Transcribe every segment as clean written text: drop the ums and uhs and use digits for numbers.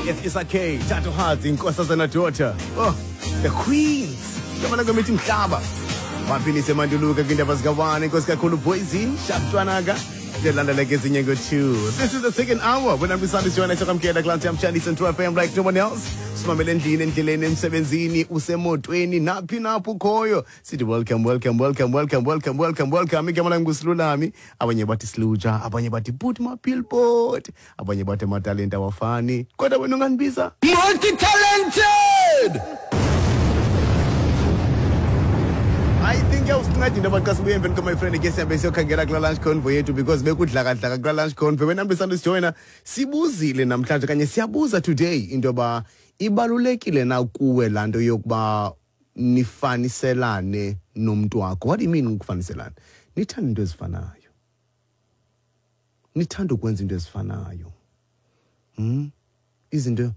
It's Isake, Tato Hearts, Inkosazana Daughter. Oh, the Queens. Gama langu mithi mhlaba. Baphilise manduluka kwindaba zikawane inkosi kakhulu poison sharp Ndilandela ke ezinye ngo-two. This is the second hour. When I'm beside Joanna Sokamkela Glansi I'm Shani Central FM like no one else. Simamele endlini, endleleni, emsebenzini, usemotweni, naphi napho ukhoyo. Sithi welcome, welcome, welcome, welcome, welcome, welcome, welcome. Igama lam nguSilulami. Abanye bathi Siluja, abanye bathi put my billboard, abanye bathi amatalente awafani. Kodwa wena ungandibiza Multi-talented! I think yawusinceda into yoba xa sibuye emveni my friend ke sihambe siyokhangela kula lunch convoy yethu because bekudlakadlaka kula lunch convoy. Wena mntu sijoyina sibuzile namhlanje kanye siyabuza today into yoba ibalulekile na kuwe laa nto yokuba nifaniselane nomntu wakho. What do you mean ukufaniselana? Nithanda into ezifanayo, nithanda ukwenza into ezifanayo, Izinto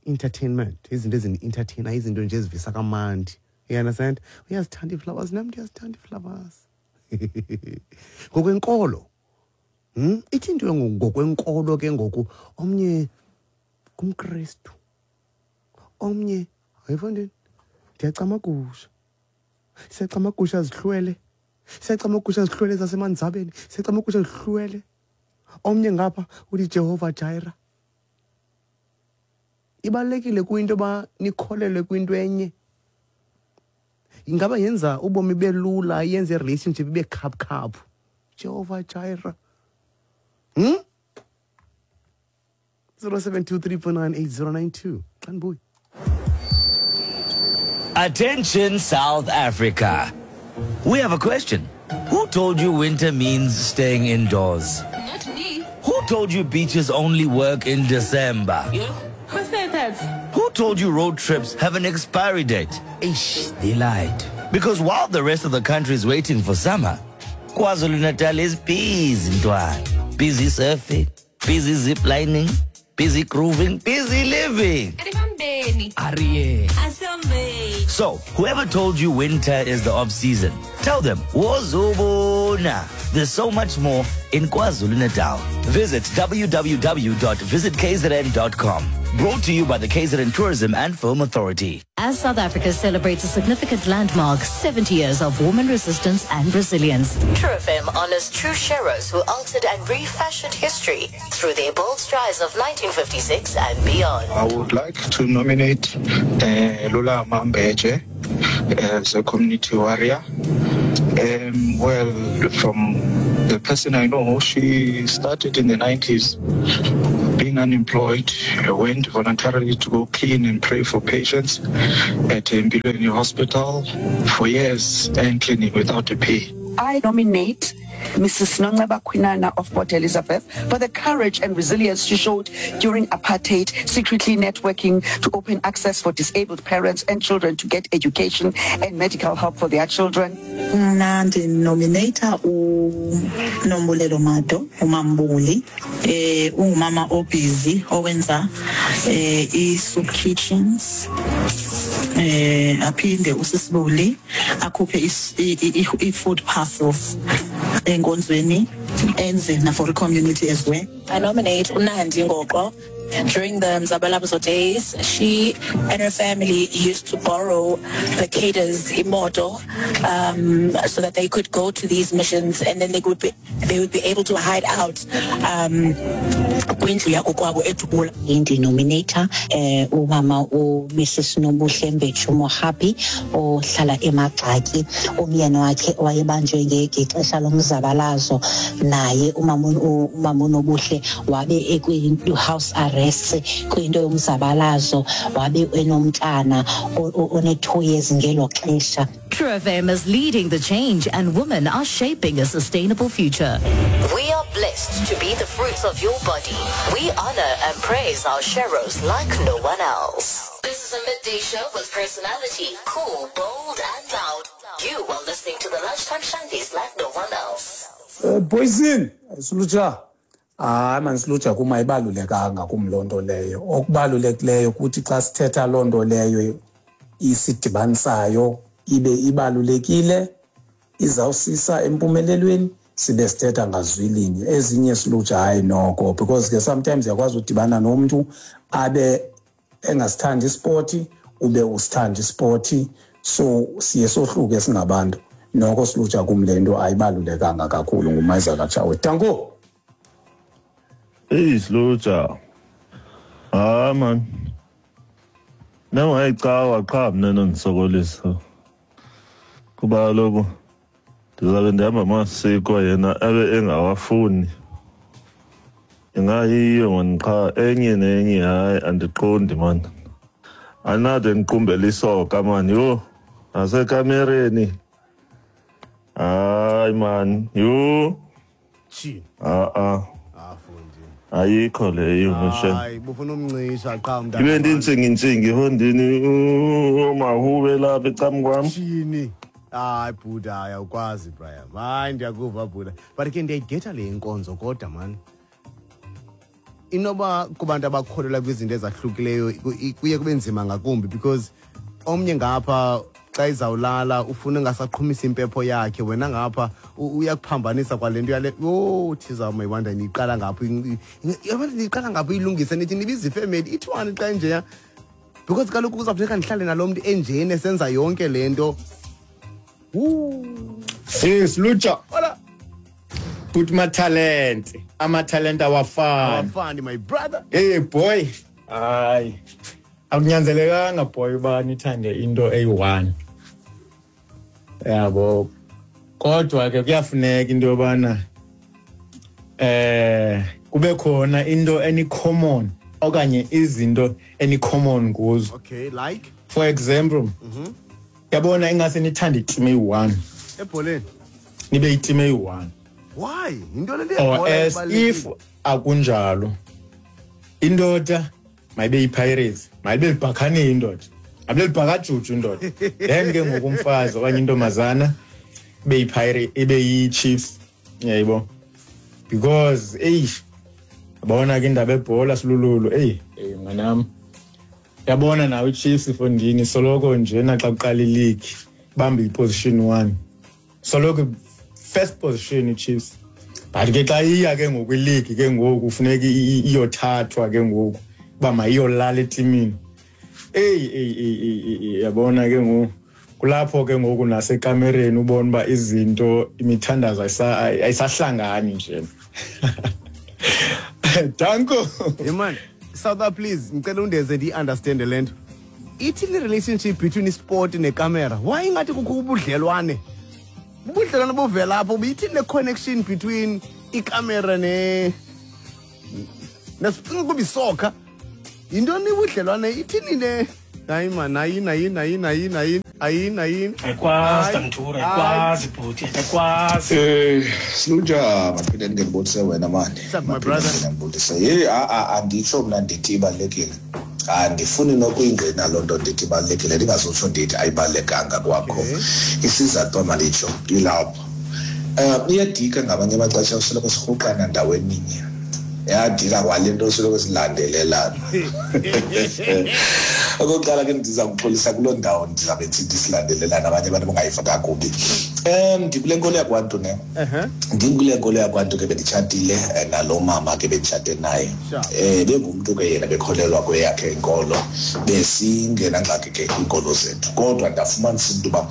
entertainment, izinto ezini-entertainer, izinto nje ezivisa kamandi, you understand? Uyazithanda ii-flowers, nam ndiyazithanda ii-flowers. Ngokwenkolo, Ithi into ngokwenkolo ke ngoku, omnye ngumKristu, omnye hayifondini, ndiyacamagusha, siyacamagusha zihlwele, siyacamagusha zihlwele zasemanzabeni, siyacamagusha zihlwele. Omnye ngapha uthi Jehova Jireh. Ibalulekile kwinto yoba nikholelwe kwinto enye. Ingaba yenza ubomi belula, yenze i-relationship ibe khaphukhaphu. Jehova Jireh. 0723498092. Xa ndibuya. Attention South Africa. We have a question. Who told you winter means staying indoors? Not me. Who told you beaches only work in December? You? Who said that? Who told you road trips have an expiry date? Eish, they lied. Because while the rest of the country is waiting for summer, KwaZulu-Natal is busy, ntwana. Busy surfing, busy ziplining, busy grooving, busy living. Aribambeni. Arie. Asambe. So, whoever told you winter is the off season, tell them, Wozubona. There's so much more in KwaZulu-Natal. Visit www.visitkzn.com. Brought to you by the KZN Tourism and Film Authority. As South Africa celebrates a significant landmark, 70 years of woman resistance and resilience. True FM honors true sheroes who altered and refashioned history through their bold strides of 1956 and beyond. I would like to nominate Lula Mambeje as a community warrior. Well, from the person I know, she started in the 90s being unemployed, went voluntarily to go clean and pray for patients at Mpilweni Hospital for years and cleaning without a pay. I nominate Mrs. Nonceba Kwinana of Port Elizabeth for the courage and resilience she showed during apartheid, secretly networking to open access for disabled parents and children to get education and medical help for their children. Mna ndinomineyitha uNombulelo Mado, uMaMbuli. Eh ungumama obhizi owenza eh i-soup kitchens. Eh aphinde usisibuli akhuphe i-food parcels enkonzweni enze na for community as well. I nominate uNandi Ngoqo. During the Mzabalazo days, she and her family used to borrow the cadres imoto so that they could go to these missions, and then they would be able to hide out um, kwindlu yakokwabo eDubula. Ndinomineyitha um umama uMrs Nobuhle Mbetshu Mohapi ohlala eMagxaki. Umyeni wakhe wayebanjwe ngexesha lomzabalazo, naye umama umama uNobuhle wabe ekwi-house arrest kwinto yomzabalazo, wabe enomntana one-2 years ngelo xesha. True FM is leading the change and women are shaping a sustainable future. We are blessed to be the fruits of your body. We honor and praise our sheroes like no one else. This is a midday show with personality, cool, bold and loud. You are listening to the Lunchtime Shandies like no one else. Poison, Suluja. Hayi mani Suluja, kum ayibalulekanga kum loo nto leyo. Okubalulekileyo kuthi xa sithetha loo nto leyo isidibanisayo ibe ibalulekile, izawusisa empumelelweni. Sibe sithetha ngazwilinye. Ezinye silutsha hayi noko, because ke sometimes uyakwazi udibana nomntu abe engasithandi ispoti, ube usithanda ispoti, so siye sohluke singabantu. Noko silutsha kum le nto ayibalulekanga kakhulu. Ngumayiza kaTshawe. Danko. Eyi silutsha, hayi man, nangayicawa qha mna nondisokolisa, kuba kaloku ndizabe ndihamba amasiko yena abe engawafuni. Ingayiyo mani qha enye nenye, hayi andiqondi mani. Andinade ndiqumbele isoka mani, yho, nasekamereni. Hayi mani, yho. A-a. Ayikho leyo ngisho. Hayi, bufuna umncisha qha mntana. Ibe ndintsingi-ntsingi ehondini, omahube lapha ecam kwam. Tshini. Hayi bhuda, hayi awukwazi Brian. Hayi ndiyakuva bhuda. But ke ndiyayigetha le inkonzo kodwa man. Inoba kubantu abakholelwa kwizinto ezahlukileyo kuye kube nzima ngakumbi, because omnye ngapha xa izawulala ufuna engasaqhumisa impepho yakhe, wena ngapha uyakuphambanisa kwale nto yale. Yho, thiza mayiwanda niyiqala ngapho, niyiqala ngapho uyilungise, nithi nibiza ifemeli ithiwani xa enjeya, because kaloku kuzawufuneka ndihlale nalo mntu enjeni esenza yonke le nto. Sis Lucha. Hola. Put my talent. Ama talent awafani. Awafani, my brother. Hey boy. Hayi. Akunyanzelekanga boy uba nithande into eyi-1. Yabo. Kodwa ke kuyafuneka into yobana kube khona into eni common okanye izinto eni common kuzo. Okay, like for example, yabona ingase nithande iteam eyi-1. Ebholeni. Nibe iteam eyi-1. Why? Into le Or as if akunjalo. Indoda mayibe yiPirates, mayibe libhakhane indoda. Mayibe libhakajuju indoda. Then ke ngoku umfazi okanye intombazana ibe yiPirates, ibe yiChiefs. Yayibo. Because eish yabona ke indaba ebhola silululu, ey, ey mnganam. Yabona nawe iChiefs ifondini soloko nje naxa kuqala ileague bamba iposition 1. Soloko first position iChiefs. But ke xa iya ke ngoku ileague ke ngoku kufuneka iyothathwa ke ngoku uba mayiyolala etimini. Ey, ey, ey, ey, ey, yabona ke ngoku kulapho ke ngoku nasekamereni ubona uba izinto imithandazo ayisahlangani nje. Danko. Hey man, South please, ngicela undeze ndi-understand le nto. Ithini relationship between isport nekamera? Why ingathi kukho ubudlelwane? Ubudlelwane buvela apho, ithini le connection between ikamera ne nesicinga kuba isokha? Yintoni ubudlelwane? Ithini le? Hayi man, ayini ayini ayini ayini ayini ayini ayini. Ayikwazi Mthura, ayikwazi bhuti, ayikwazi. Siluja maphinde ndingekubonise wena mani. My brother. Ndingekubonise. Hey, anditsho mna ndithi ibalulekile. Andifuni nokuyingqina loo nto ndithi ibalulekile, ndingazotsho ndithi ayibalulekanga kwakho. Isizathu manditsho ilapho. Iyadika ngamanye amaxesha usoloko sirhuqana ndaweninye. Yadika kwale nto soloko silandelelana. Okokuqala ke ndiza kuxolisa kuloo ndawo ndizabe ndisithi silandelelana abanye abantu bangayiva kakubi. Ndikule nkolo yakwantu ne. Ndikule nkolo yakwantu ke benditshatile nalo mama ke benditshate naye. Bengumntu ke yena bekholelwa kweyakhe inkolo, besingenangxaki ke kwiinkolo zethu. Kodwa ndafumanisa into yoba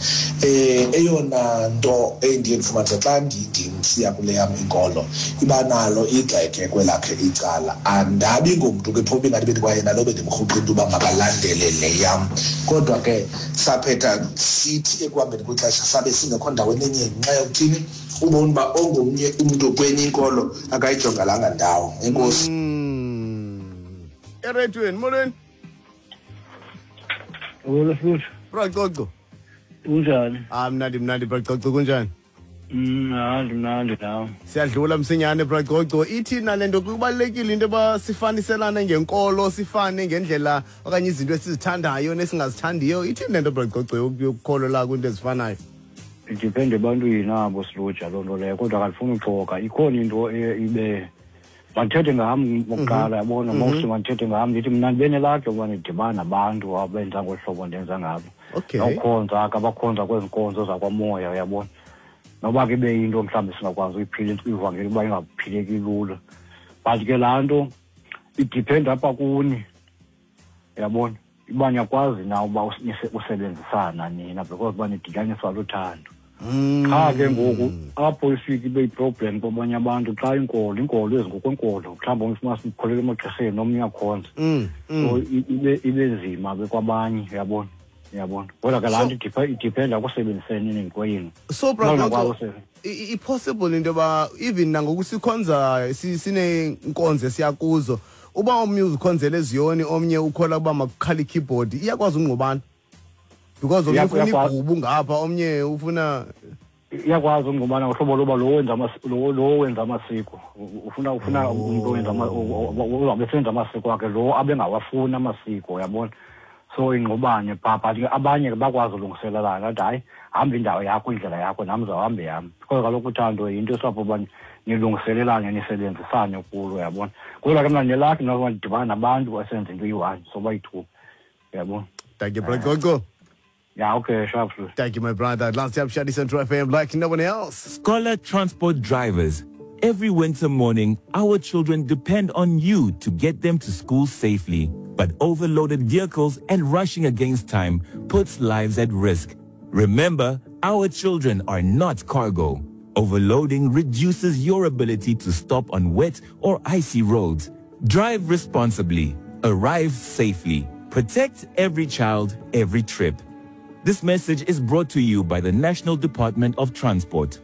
eyona nto endiye ndifumanise xa ndisiya kule yam inkolo iba nalo igxeke kwelakhe icala. Andabi ngumntu ke phofu ingathi bendikwayena lo bendimrhuqa into yoba makalandele le yam. Kodwa ke saphetha sithi ekuhambeni kwexesha sabe singekho ndaweni enye ngenxa yokuthini ubona uba ongomnye umntu kwenye inkolo akayijongelanga ndawo. Enkosi. Eretweni, molweni. Molo Sibutho. Bra Coco. Kunjani? Mnandi mnandi Bra Coco, kunjani? Mnandi mnandi nawe. Siyadlula msinyane Bra Coco. Ithi nale nto kubalulekile into yoba sifaniselane ngenkolo, sifane ngendlela okanye izinto esizithandayo nesingazithandiyo. Ithini le nto Bra Coco yokukholelwa kwinto ezifanayo? Idepende ebantwini abo silutsha loo nto leyo, kodwa akandifuni uxoka. Ikhona into ibe mandithethe ngam okokuqala, yabona, mostly mandithethe ngam, ndithi mna ndibe nelakhe yokuba ndidibane nabantu abenza ngolu hlobo ndenza ngalo. Nokukhonza ke, abakhonza kwezi nkonzo zakwamoya, uyabona. Noba ke ibe yinto mhlawumbi singakwazi uyiphila ivangeli uba ingaphileki lula, but ke laa nto i-depend apha kuni, uyabona, uba niyakwazi na uba usebenzisana nina, because uba nidityaniswa luthando. Qha ke ngoku apho ifike ibe yi-problem kwabanye abantu xa inkolo ezingokwenkolo, mhlawumbi omnye ufumana sikholelwa emagqirheni, omnye uyakhonza. So ibe nzima ke kwabanye, uyabona, uyabona. Kodwa ke laa nto i-dependa kusebenziseni kwenu. So Uba ungakwazi brother, i-possible into yoba even nangoku sikhonza sineenkonzo esiya kuzo, uba omnye uzikhonzela eziyoni, omnye ukholwa ukuba makukhale i-keyboard, iyakwazi ungqubana? Because omnye ufuna igubu ngapha, omnye ufuna Iyakwazi ungqubana ngohlobo loba lo wenza amasiko ufuna umuntu owenza uzawube esenza amasiko akhe, lo abengawafuni amasiko, uyabona. So ingqubane phaa, but ke abanye ke bakwazi ulungiselelana, athi hayi, hamba indawo yakho, indlela yakho, nam ndizawuhamba yam, because kaloku uthando yinto esapho uba nilungiselelane, nisebenzisane kulo, uyabona. Kodwa ke mna ndinelakhi noba ndidibana nabantu esenza into iyi-one, so bayi-two, uyabona. Thank you, Brother Gogo. Yeah, okay, sharp. Thank you, my brother. Last up, Shadi Central FM, like no one else. Scholar transport drivers, every winter morning, our children depend on you to get them to school safely. But overloaded vehicles and rushing against time puts lives at risk. Remember, our children are not cargo. Overloading reduces your ability to stop on wet or icy roads. Drive responsibly. Arrive safely. Protect every child, every trip. This message is brought to you by the National Department of Transport.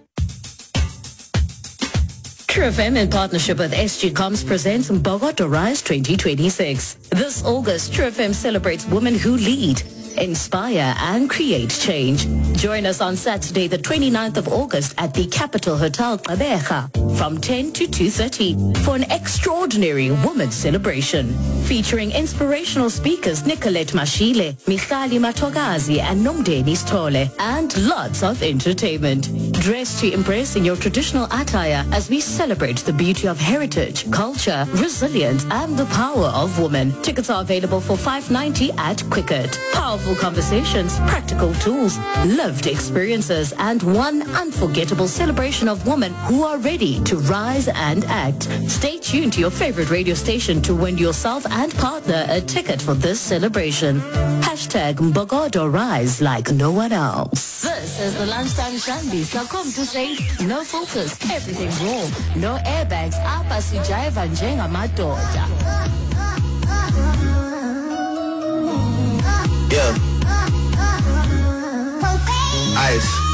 True FM in partnership with SG Comms presents Mbokodo Rise 2026. This August, True FM celebrates women who lead, inspire and create change. Join us on Saturday, the 29th of August at the Capital Hotel Gqeberha from 10 to 2:30 for an extraordinary women's celebration featuring inspirational speakers Nicolette Mashile, Michali Matogazi and Nomdeni Stole, and lots of entertainment. Dress to impress in your traditional attire as we celebrate the beauty of heritage, culture, resilience and the power of women. Tickets are available for $5.90 at Quicket. Powerful conversations, practical tools, lived experiences, and one unforgettable celebration of women who are ready to rise and act. Stay tuned to your favorite radio station to win yourself and partner a ticket for this celebration. Hashtag Mbokodo Rise like no one else. This is the Lunchtime Shambi. So come to say no filters, everything raw, no airbags, apha sijayiva njengamadoda. Yeah. Ice.